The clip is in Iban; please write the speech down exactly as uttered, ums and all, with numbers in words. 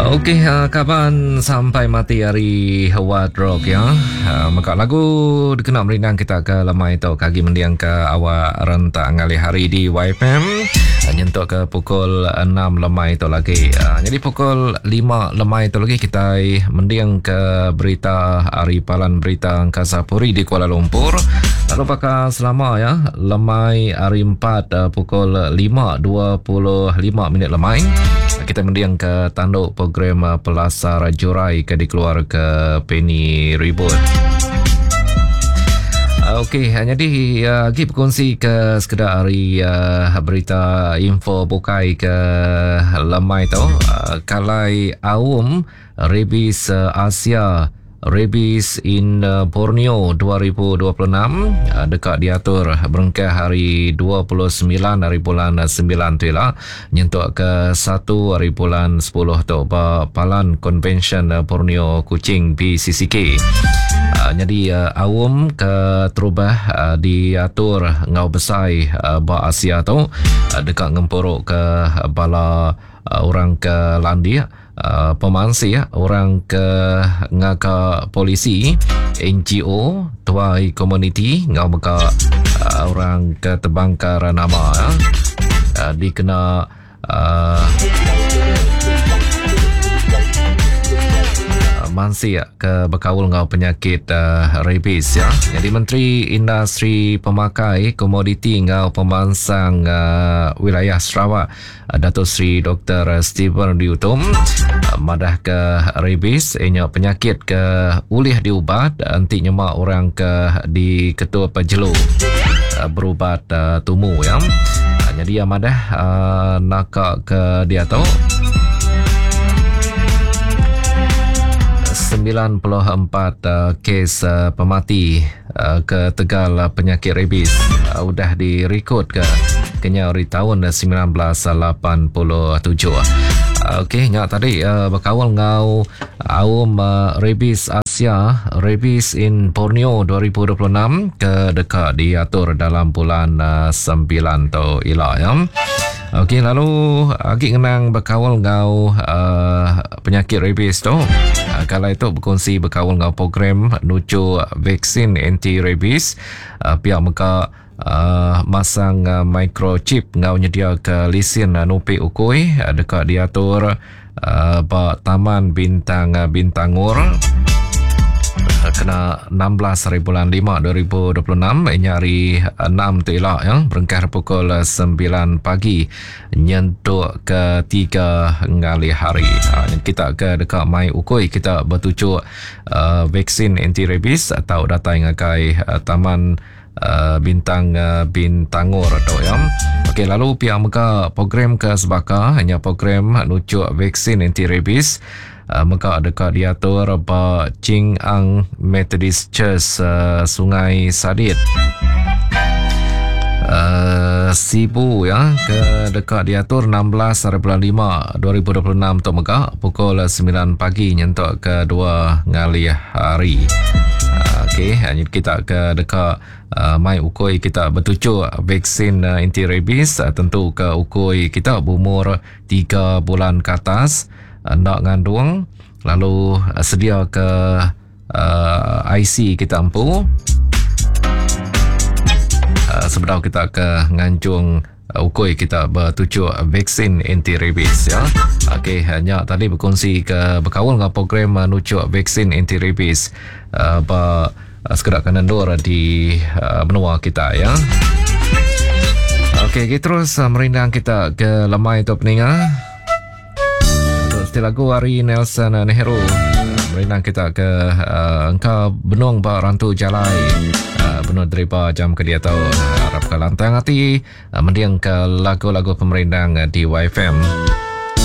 Okey, uh, kaban sampai mati hari Howard Rock ya. Uh, maka lagu dikena merindang kita ke lemai tu kagi mendiang ke awak rentak ngalih hari di Y F M uh, nyentuk ke pukul enam lemai tu lagi. Uh, jadi pukul lima lemai tu lagi kita mendiang ke berita hari Palan Berita Angkasa Puri di Kuala Lumpur. Lalu bakal selama ya lemai hari empat uh, pukul lima dua puluh lima minit lemai kita mendiang ke tanduk program Pelasar Jurai ke dikeluar ke Penny Ribut. Okey, jadi lagi uh, berkongsi ke sekedar hari uh, berita info bukai ke lemai tu uh, kalai aum rabies uh, Asia Rabies in Borneo dua ribu dua puluh enam dekat diatur berengkah hari dua puluh sembilan hari bulan sembilan tu lah nyentuk ke satu hari bulan sepuluh tu ba Palan Convention Borneo Kuching B C C K. Uh, jadi uh, aum ke terubah uh, diatur ngau besai uh, ba Asia tu uh, dekat ngempuruk ke bala uh, orang ke Landia. Uh, pemansi ya, orang ke ngaka polisi N G O tuai komuniti ngau meka uh, orang ke terbangkar nama ya. Uh, dikena uh, mansi ya, ke berkaul ngau penyakit uh, rabies ya. Jadi Menteri Industri Pemakai Komoditi ngau Pemansang uh, Wilayah Sarawak uh, Datuk Seri Doktor Stephen Diutum uh, madah ke rabies inya penyakit ke ulih diubat anti nyemak orang ke di ketua pejelu uh, berubat uh, tumu ya. Uh, jadi yang madah uh, nakak ke dia tu sembilan puluh empat uh, kes uh, pemati uh, ke Tegal uh, penyakit rabies uh, udah direkod ke kenya hari tahun sembilan belas lapan puluh tujuh. Uh, Okey, nyak tadi uh, berkawal ngau aum uh, rabies Asia Rabies in Borneo dua ribu dua puluh enam ke dekat diatur dalam bulan uh, sembilan tu ila ya. Okey, lalu agi ngenang berkawal ngau uh, penyakit rabies tu. Uh, kalau itu berkongsi berkawal ngau program nuju vaksin anti rabies uh, pihak meka uh, masang uh, microchip ngau nyedia ke lisen uh, nupi ukui uh, dekat diatur uh, ba Taman Bintang uh, Bintangor kena enam belas hari bulan lima dua ribu dua puluh enam ini hari enam tu elok ya berengkah pukul sembilan pagi nyentuk ke tiga ngalih hari. Ha, kita ke dekat mai ukui kita bertujuk uh, vaksin anti rabies atau datang ngagai uh, Taman Uh, Bintang uh, Bintangor tu ya. Okey, lalu pihak mega program ke sebaka hanya program nujuk vaksin anti rabies uh, mega dekat diatur ba Ching Ang Methodist Church uh, Sungai Sadit. Uh, Sibu ya ke dekat diatur enam belas hari bulan lima dua ribu dua puluh enam tu mega pukul sembilan pagi nyentuk ke dua ngalih hari. Okey, hanya kita ke dekat uh, mai ukui kita bertujuk vaksin uh, anti rabies uh, tentu ke ukui kita berumur tiga bulan ke atas uh, nak ngandung lalu uh, sedia ke uh, I C kita empu uh, sebelum kita ke nganjung uh, ukui kita bertujuk vaksin anti rabies ya. Okey, hanya tadi berkongsi ke berkawal dengan program uh, nujuk vaksin anti rabies uh, ba sekedar kanan dor di uh, benua kita ya. Okey, kita terus uh, merindang kita ke lemai tu peninga. Untuk setelah lagu hari Nelson uh, Nehru merindang kita ke uh, engkau benung ba rantu jalai uh, benung deriba jam ke dia tahu harap ke lantang hati uh, mendiang ke lagu-lagu pemerindang uh, di Y F M.